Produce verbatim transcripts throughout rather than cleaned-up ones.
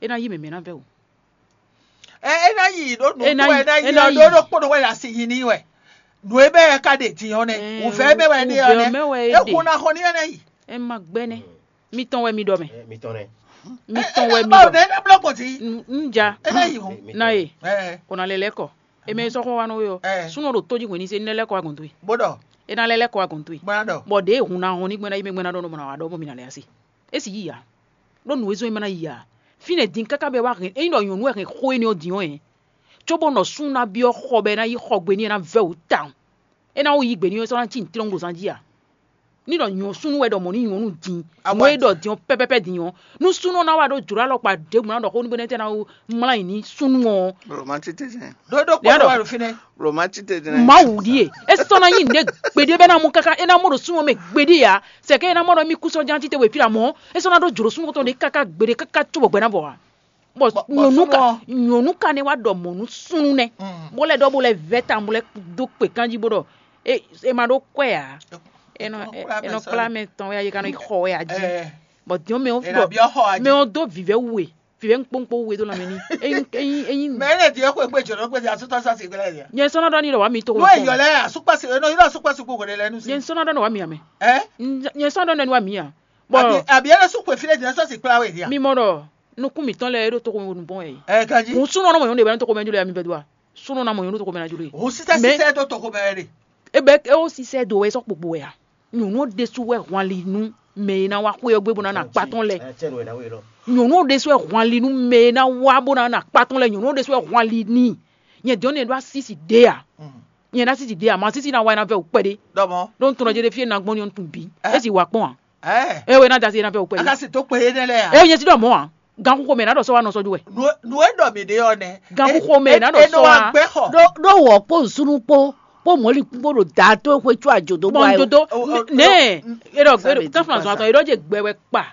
É ná yí mɛ̌ mɛ ná vɛ́ o. Ɛ é ná yi ɖó nǔ É ná kpó yi- é ná yi é ná ɔ́ yi. Ɖó ɖó kpó ɖó wɛ ɖo asi yi n'i wɛ. Nǔ e bɛ ɛ ka ɖe din ɔ́ nɛ. Ɛɛ, Wǔvɛ́ mɛ wɛ ɖe ɔ́ wǔvɛ́ nɛ. Mɛ wɛ é É ɖe. Hun ná xɔ ní ɛ ná yi. É ma gbɛ́ nɛ́. Mitɔn wɛ mi ɖɔ mɛ. Mitɔn nɛ. Mitɔn wɛ mi Ɛ ɖɔ. Ɛ ná blɔ gbɔn ti. N ja. É ná yi hun. Na ye. Ɛ O na lɛ lɛ kɔ. Eme sɔ́ xɔ wa nɔ we ɔ́. Ɛ Súnɔ ɖo tó jí hwenu se ní lɛ lɛ kɔ wa gɔn towe. Bó ɖɔ. É ná lɛ lɛ kɔ wa gɔn towe. Bó ná ɖɔ. Bɔ ɖě hun ná hɔn ní gbɛ́ ná yi mɛ gbɛ́ ná ɖɔ nɔ mɔ ná wa ɖɔ bɔ mi na lɛ asi. É sì yí ya. Ɖó nǔ e zɔ́n é ma ná yi ya. Fínɛ́ din káká bɛ wá hɛn ényí ɖɔ nyɔ̌nu wɛ hɛn xó énɛ́ ɔ́ din ɔ́ hɛn. Cóbɔ nɔ sún ná byɔ́ xɔ bɔ é ná yí xɔ gbe n'i é ná vɛ́ wǔ tawun. É ná wú yí gbe n'i é sɔ́ ná cí nǔtlɔ́ngbozán jí a? Ní ɖɔ nyɔ̌ súnnu wɛ ɖɔ mɔ̌ ní nyɔ̌nu din, Awa nǔ e ɖɔ din ɔ́ pɛ́pɛ́pɛ́ din ɔ́, nú súnnu ɔ́ ná wá ɖó jlǒ alɔkpa ɖěbǔ ná ɖɔ xó nú bɛnɛ́ tɛ́ ná wú mlá nyi ní súnnu ɔ́. Romanticism. Ɖó ɖó Lɛ̌ kpɔ́ ɖɔ. Wá ɖo fínɛ́. Romanticism. Mawu ɖíe, é sɔ́ ná nyí nǔɖé gbeɖé bɛ́ ná mɔ káká é ná mɔ ɖo súnnu ɔ́ mɛ gbeɖé ǎ. Sɛkɛ é ná mɔ ɖɔ mì kú sɔ́ ján títewé fí ɖo amɔ̌, é sɔ́ ná ɖó jlǒ súnnu tɔn ɖé káká gbeɖé káká cóbɔ gbɛ ná vɔ ǎ. Bɔ Bɔ- bɔ nyɔ̌nu súnnu ka ɔ́. Nyɔ̌nu ka nɛ wá ɖɔ mɔ̌ nú súnnu nɛ́, Mm. Bó lɛ́ ɖɔ bó lɛ́ vɛ́ tawun bó lɛ́ dó kpě kanjí bó ɖɔ é é ma ɖó kwɛ́ ǎ. É nɔ Nɔ é- kplá é nɔ mɛ kplá sɔ́. Mɛ tɔn wɛ a yě ka nɔ yi xɔ wɛ a jí. Ɛ Bɔ diɔn mɛ ɔ́ È ɖɔ nǎ byɔ́ xɔ a jí. Mɛ ɔ́ dó vǐvɛ́ we vǐvɛ́ ŋkpóŋkpó we dó lanmɛ ní. Ényí ényí ényí Mɛ é lɛ din é xwe gbé jɔ̌nɔ gbé din asútɔ sá si gbé lɛ din. Nyɛ sɔ́ ná ɖɔ ní ɖɔ wá mi tó Nú èyɔ lɛ asúkpá si enɔ yɔ asúkpá si gbogbo ɖe lɛ nú si. Nyɛ sɔ́ ná ɖɔ ní wá mi ame. Ɛ Nyɛ sɔ́ ná ɖɔ ní wá mi a. Bɔ Àbí àbí é lɛ sún xwe fí lɛ din sɔ si kplá we dia. Mi mɔ ɖɔ nukún mǐtɔn lɛ́ɛ é ɖo tóxo mɛ nǔgbɔn wɛ. Ɛ ganji. Hǔn súnɔ nɔ mɔ nyɔ̌nu ɖě wɛ nɔ tóxo mɛ jló ya mi vɛdua. Súnɔ ná mɔ nyɔ̌nu tóxo mɛ ná jló ye. Hǔn sísɛ Mɛ- sísɛ ɖó tóxo mɛ wɛ ɖe. Ebe é ó sisɛ do wɛ sɔ́ kpokpo wɛ a. Nyɔ̌nu ɔ́ ɖésú wɛ hwan li nú mɛ e ná wá xwé ɔ́ gbé bó ná nɔ akpá tɔn lɛ. Nyɔ̌nu ɔ́ ɖésú wɛ hwan li nú mɛ e ná wá bó ná nɔ akpá tɔn lɛ. Nyɔ̌nu ɔ́ ɖésú wɛ hwan li n'i. Nyɛ dɔn nɛ ɖó asísi ɖé a. Nyɛ ɖó asísi ɖé a ma asísi ná wá ná vɛ wò kpɛɖé. Ɖɔmɔ. Ɖó un tunɔ jɛ ɖé fí e ná gbɔn ní ɔ́ tun bǐ. É sì wá kpɔn a. Ɛ É wɛ ná jasi ná vɛ wò kpɛɖé. Aka si tó kpe énɛ́ lɛ́ɛ a. É nyɛ si ɖɔ mɔ̌ a. Gan xixo mɛ ná ɖɔ sɔ́ wá nɔ sɔ́ jú wɛ. Nu nu e ɖɔ mi ɖe ɔ nɛ. Gan xixo mɛ ná ɖɔ sɔ́ wá. Gbɛ xɔ. Ɖó ɖó wɔ kpó nsúnú kpó kpó mɔ̌likún kpó ɖo da tó xwe có àjòdó bɔ bɔ ayɔ. Ndodo O- o- ne erɔ Sabe tafla zɔn atɔ erɔ dze gbɛ wɛ kpa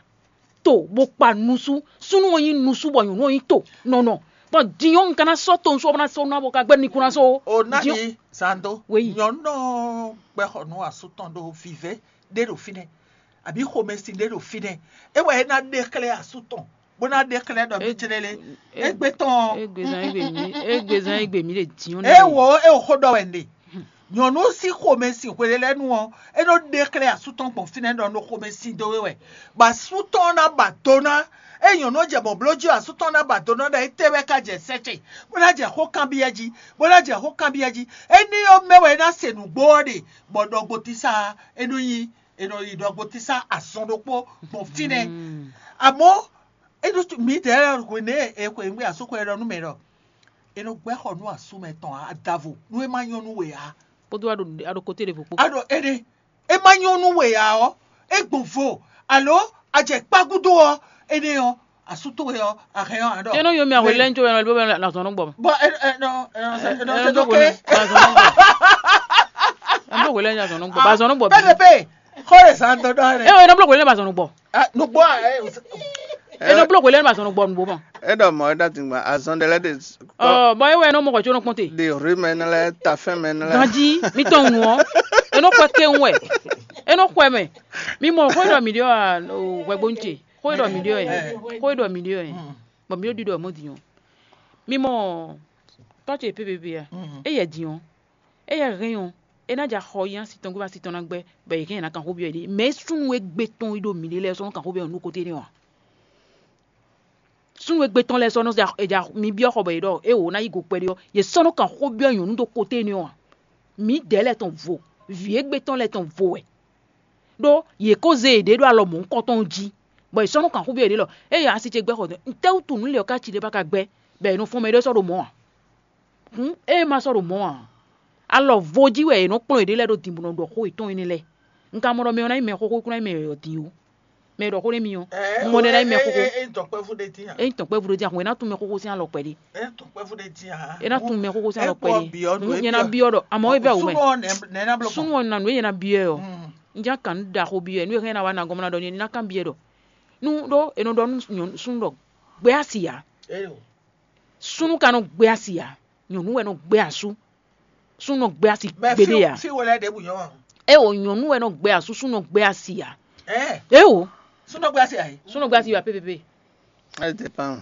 to bó kpa nusu súnú ɔ́ nyí nusu bɔ nyɔ̌nu ɔ́ nyí to nɔnɔ bɔ dinyɔ́ un ka ná sɔ́ to nsú ɔ́ bó ná sɔ́ ná bó ka gbɛ́ ní kún ná sɔ́ O ná Diɔ- yi zando. Oui. Nyɔnu gbɛ xɔ nú asú tɔn ɖo vivɛ ɖé ɖo fínɛ́. Àbí xomɛsin ɖé ɖo fínɛ́. É wɛ é ná ɖe xlɛ́ asú tɔn bó ná ɖe xlɛ́ ɖɔ mí jlé lé. Égbé tɔn. Égbé zán égbé mí égbé zán égbé mí ɖe diɔ nɛ. É wo é wo xó ɖɔ wɛ nde. Nyɔnu sí xomɛsin hwelelɛnu ɔ́, é nɔ ɖe xlɛ́ asú tɔn gbɔn fínɛ́ ɖɔ nɔ xomɛsin dó we wɛ. Bɔ asú tɔn ná ba do ná. É nyɔnu jɛ bɔ bló jí asú tɔn ná ba do ná ɖɔ étɛ́ wɛ ka jɛ sɛ́ ce, bó ná jɛ xó kanbyɔ́ jí, bó ná jɛ xó kanbyɔ́ jí. Éní ɔ́ mɛ wɛ é ná se nǔgbó ɔ́ ɖe, bɔ ɖɔgbotísá é nɔ nyí è nɔ yi ɖɔgbotísá azɔn ɖokpó gbɔn fínɛ́. Amɔ̌ é ɖo mǐdɛɛ hwenu e è xwe nǔgbé asúxwe ɔ́ ɖɔ nú mɛ ɖɔ è nɔ gbɛ́ xɔ nú asú mɛ tɔn adavo nú é má nyɔ́ nú we ǎ. Kpódó aɖo aɖo kote ɖěvo kpó. Aɖo éɖé é má nyɔ́ nú we ǎ ɔ́, é gbɔn vo alo a jɛ kpá gúdo ɔ́, énɛ́ ɔ́ asú towe ɔ́ a hɛn ɔ́ a ɖɔ. Tɛ́nɔ yɔ mi ahwe lɛ́ ŋco wɛ nɔ bɔ na zɔn nɔ gbɔ. Bɔ ɛ ɛ nɔ ɛ nɔ ɛ nɔ ɛ tɛ nɔ dɔ gbɔ kɛ. Ɛ nɔ gbɔ lɛ́ nya zɔn nɔ gbɔ ba zɔn nɔ gbɔ bi. Pɛpɛpɛ xɔ le zan dɔ dɔ rɛ. Ɛ ɛ nɔ gbɔ lɛ́ ba zɔn nɔ gbɔ. Nugbo a ɛ. Ɛ nɔ gbɔ lɛ́ ba zɔn nɔ gbɔ nugbo ma. E ɖɔ mɔ e ɖo atingba azɔn ɖe lɛ de. Ɔ bɔ e wɛ nɔ mɔ kɔ tso nɔ kpɔn te. De rue mɛ ne lɛ tafɛn mɛ ne lɛ. Ganji mi tɔn nu ɔ e nɔ kpɛ ke ŋu wɛ e nɔ kpɛ mɛ mi mɔ xɔ e ɖɔ mi ɖe ɔ hwɛgbo ŋuti xɔ e ɖɔ mi ɖe ɔ yɛ xɔ e ɖɔ mi ɖe ɔ yɛ bɔn mi ɖo ɖiɖɔ mɔ din ɔ mi mɔ tɔ ce pépépé ya e yɛ din ɔ e yɛ hɛn ɔ e ná ja xɔ yi asi tɔn gbé asi tɔn ná gbɛ bɔ yɛ hɛn yɛ ná kan xó byɔ yɛ ɖe mɛ súnnu e gbé tɔn yi ɖo mi ɖe lɛ sɔn kan xó byɔ nu kote ne wa. Súnnu e gbé tɔn lɛ́ɛ sɔ́ nɔ ja mi byɔ́ xɔ bɔ yě ɖɔ éeǒ ná yí go kpɛɖé ɔ́, yě sɔ́ nɔ́ kan xó byɔ́ nyɔ̌nu ɖo koté énɛ́ ɔ́ ǎ. Mǐdɛɛ lɛ́ɛ tɔn vo, vǐ e gbé tɔn lɛ́ɛ tɔn vo wɛ, ɖó yě ko zé yěɖée ɖó alɔ mɔ̌hunkɔtɔn jí, bɔ yě sɔ́ nɔ́ kan xó byɔ́ yěɖée ɖɔ: "Éeǒ, asi ce gbɛ́ xɔ, nǔtɛ́wútu nǔ lě ɔ́ ka ci ɖé ba ka gbɛ́, bɔ è nɔ fɔ́n mɛ ɖé sɔ́ ɖo mɔ̌ ǎ?" Hǔn ée ma sɔ́ ɖo mɔ̌ ǎ, alɔ vo jí wɛ è nɔ kplɔ́n yěɖée lɛ́ɛ ɖo din bó nɔ ɖɔ xó yětɔn énɛ́ lɛ́ɛ. Un ka mɔ ɖɔ mɛ ɔ́ ná nyí mɛxóxó, é kún ná nyí mɛ yɔ̌yɔ́ din ó. Mɛ e ɖɔ xó n'i mì ɔ́, un mɔ ɖɛ ná nyí mɛxóxó. É nyí tɔkpɛ́vú ɖé dín ǎ. É nyí tɔkpɛ́vú ɖé dín ǎ, hǔn é ná tún mɛxóxó sín alɔ kpɛɖé. É nyí tɔkpɛ́vú ɖé dín ǎ. É ná tún mɛxóxó sín alɔ kpɛɖé. Nyɛ ná byɔ́ ɖɔ àmọ́ é bɛ wǔ mɛ. Súnnu ɔ́ nɛ̌ ná bló gbɔn? Súnnu ɔ́ nǎ nú é nyɛ ná byɔ́ ɛ ɔ́. Un já kan nǔ ɖaxó byɔ́ ɛ, nú é hɛn ná wá ná gɔ́n ná ɖɔ nyɛ ní ná kan byɔ́ ɛ ɖɔ. Nú ɖó è nɔ ɖɔ nú súnnu ɖɔ gbɛ́ asi ǎ. Súnnu ka nɔ gbɛ́ asi ǎ, nyɔ̌nu wɛ nɔ gbɛ́ asú. Súnnu nɔ gbɛ́ asi gbeɖé ǎ. Fí wo lɛ́ɛ ɖěbǔ nyɔ́ wɛ. É o nyɔ̌nu wɛ nɔ gbɛ́ asú, súnnu nɔ gbɛ́ asi ǎ. Ɛ É o súnnu gbɛ́ asi ǎ é. Súnnu nɔ gbɛ́ asi wá pépépé. Ɛ dépend.